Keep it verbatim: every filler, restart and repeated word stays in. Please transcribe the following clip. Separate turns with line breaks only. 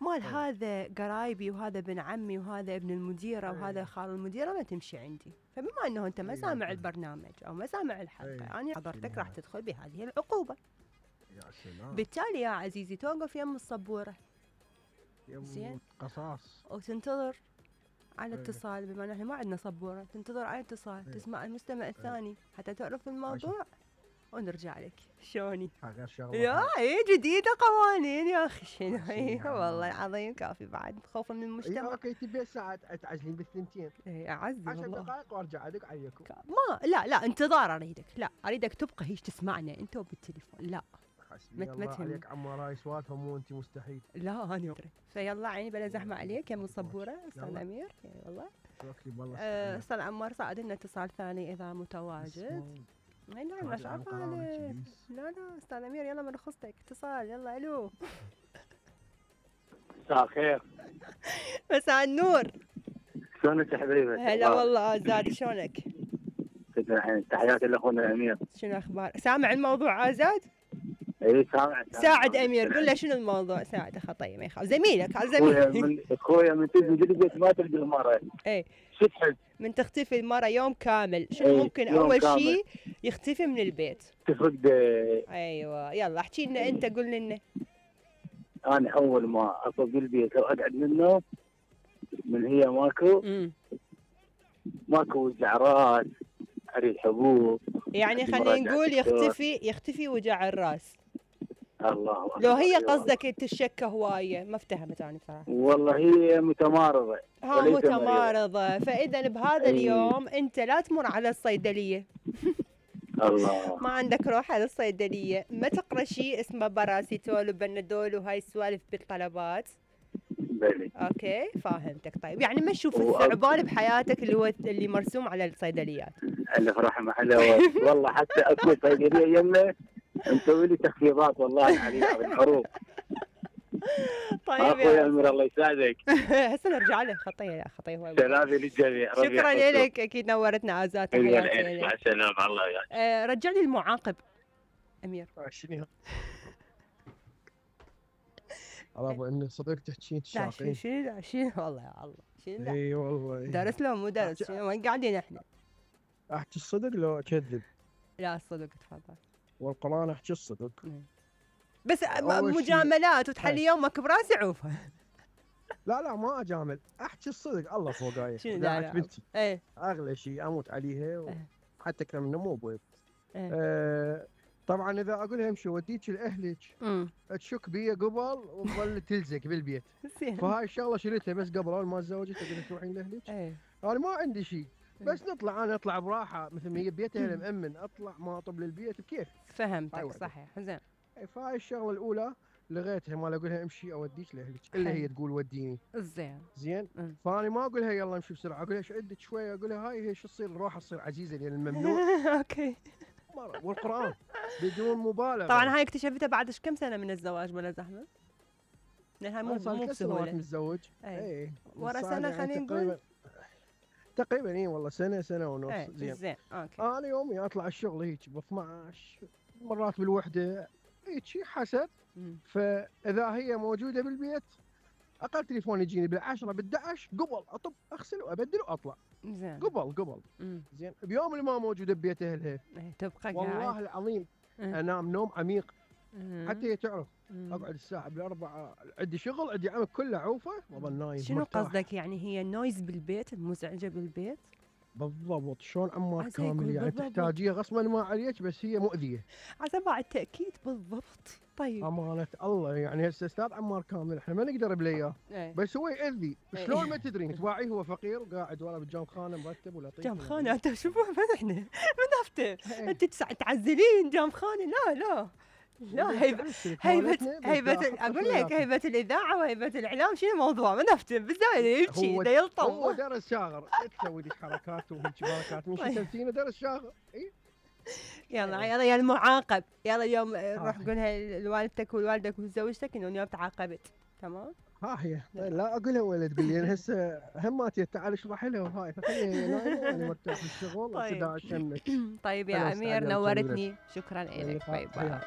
مال هذا قرايبي وهذا ابن عمي وهذا ابن المديره
أي.
وهذا خال المديره ما تمشي عندي. فبما انه انت ما
أي
سامع
أي.
البرنامج او ما سامع الحلقه،
أي.
انا حضرتك
سلام.
راح تدخل بهذه العقوبه.
يا سلام.
بالتالي يا عزيزي توقف يم الصبوره زين.
قصاص.
وتنتظر على
أي.
اتصال، بما ان احنا ما عندنا صبوره، تنتظر على اتصال
أي.
تسمع المستمع الثاني
أي.
حتى تعرف الموضوع ونرجع لك. شلوني؟
غير شغله.
يا اي جديده قوانين يا اخي شنو
عشان
هي
يعني.
والله العظيم كافي بعد خوفا من
اي
المجتمع.
اوكي تبي ساعه تعزلين بالثنتين.
اي اعزي
عشر
والله.
دقائق وارجع ادق عليكم.
ما لا لا انتظار اريدك، لا اريدك تبقى هيش تسمعنا انت وبالتليفون. لا
حسبي الله عليك عمار، هاي سوالفه مو انت مستحيل.
لا انا ادري. فيلا عيني بلا زحمه عليك يا مصبوره استاذ امير. اي والله.
توكلي بالله.
أه، استاذ عمار صعد لنا اتصال ثاني اذا متواجد. اي نعم مش عارفه لا لا استاذ امير يلا من رخصتك اتصال. يلا الو.
مساء الخير.
مساء النور.
شلونك يا حبيبي؟
هلا والله آزاد شلونك؟
تحياتي لاخونا الامير.
شنو اخبار؟ سامع الموضوع آزاد؟
اي سامع.
ساعد امير قول له شنو الموضوع. ساعده خطيه ما يخاف. زميلك هذا
اخويا
زميلك.
من اخويا من تجي البيت ما تلقى المره.
اي
شو تحب؟
من تختفي المرة يوم كامل شنو
ايه
ممكن
يوم
اول
كامل.
شيء يختفي من البيت؟
تفقد.
ايوه يلا احكي لنا انت قول لنا.
انا اول ما افق البيت واقعد منه من هي ماكو
امم
ماكو وجع راس، اريد حبوب.
يعني خلينا نقول يختفي يختفي وجع الراس.
الله
لو هي قصدك تشكى هوايه ما افتهمت انا بصراحه.
والله هي متمارضه.
ها متمارضه. فاذا بهذا اليوم انت لا تمر على الصيدليه.
الله.
ما عندك روح على الصيدليه، ما تقرا شيء اسمه باراسيتول وبنادول وهاي السوالف بالطلبات.
بلي.
اوكي فاهمتك. طيب يعني ما تشوف الثعبان بحياتك اللي هو اللي مرسوم على الصيدليات.
الف رحمه عليه والله. حتى اكو صيدليه يمه مسوي لي تخفيضات والله عليها بالحروب.
طيب
اخويا امير الله يساعدك.
هسه نرجع له. خطيه لا خطيه هو.
سلامي للجميع.
شكرا لك اكيد نورتنا آزاد. تحياتي
مع السلامه. الله يعافيك.
آه رجع لي المعاقب امير.
شنو الله ابو انك صديق تحكين
لا
الشاقين.
شنو شنو والله يا الله شنو.
اي والله.
درس لو مو درس شنو وين قاعدين احنا؟
احكي الصدق لو اكذب؟
لا الصدق تفضل.
والقران احكي الصدق.
بس مجاملات وتحلي يومك براسي عوفه.
لا لا ما اجامل، احكي الصدق الله فوقاي.
شنو لا
بنتي
ايه
اغلى شيء اموت عليها وحتى اكثر منه مو بويب.
ايه.
آه طبعا اذا اقول لها امشي وديك لاهلك تشك بي قبل وتظل تلزق بالبيت. فهاي الشغله شريتها بس قبل اول ما تزوجت اقول لها تروحين لاهلك.
ايه.
انا ما عندي شيء بس نطلع انا اطلع براحه مثل ما هي ببيتها المأمن اطلع ما اطب للبيت بكيف.
فهمتك صحيح زين.
فهاي الشغله الاولى لغيتها ما اقول لها امشي اوديك لاهلك الا هي تقول وديني.
زين
زين. فانا ما اقول لها يلا امشي بسرعه، اقول لها شعدك شويه، اقول لها هاي هي شو تصير الروحه تصير عزيزه لان الممنوع.
اوكي.
والقران بدون مبالغه.
طبعا هاي اكتشفتها بعد ايش كم سنه من الزواج بلا زحمه؟ لان هاي مو مو بسهوله.
متزوج.
اي ورا سنه خلينا نقول
تقريبا. اي والله سنه سنه ونص.
ايه. زين زين اوكي.
انا يومي اطلع الشغل هيك ب اثنعش مرات بالوحده هيك حسب. فاذا هي موجوده بالبيت اقل تليفون يجيني بالعشرة بالدعش قبل اطب اغسل وابدل واطلع.
زين.
قبل قبل.
مم.
زين. بيوم اللي ما موجوده ببيت اهلها
ايه تبقى
والله
قاعد.
العظيم
مم.
انام نوم عميق.
مم.
حتى هي تعرف.
مم.
اقعد الساعه بالاربعه عندي شغل عندي عمل كله عوفه واظل نايم.
شنو
مرتاح.
قصدك يعني هي النويز بالبيت المزعجه بالبيت؟
بالضبط. شلون عمار
عسى يكون
كامل يعني
بالضبط.
تحتاجيها غصبا ما عليك بس هي مؤذيه.
عسى مع التاكيد بالضبط. طيب
امانه الله يعني هسه استاذ عمار كامل احنا ما نقدر بلياه.
ايه.
بس هو يأذي.
ايه.
شلون ما تدرين تواعيه هو فقير وقاعد ورا بالجام خانه مرتب ولطيف.
جام خانه انت شوفوا من احنا من افتر انت تعزلين جام خانه. لا لا لا هيبة هيبة هيبة اقول لك هيبة الاذاعه وهيبة الاعلام شنو الموضوع؟ من افتر بالزايد يبكي دا يلطم.
هو درس شاغر تسوي لك حركات وهيك حركات من شتمتينه درس شاغر. اي
يلا يلا يا المعاقب يلا اليوم روح قولها لوالدتك ووالدك وزوجتك انه اليوم تعاقبت. تمام.
ها هي لا اقولها ولا تقول لي هسه هماتي تعال اشرح لها وهاي فخليها نايمه وانا مرتاح بالشغل وتدعى شمك.
طيب يا امير نورتني. شكرا لك. باي باي.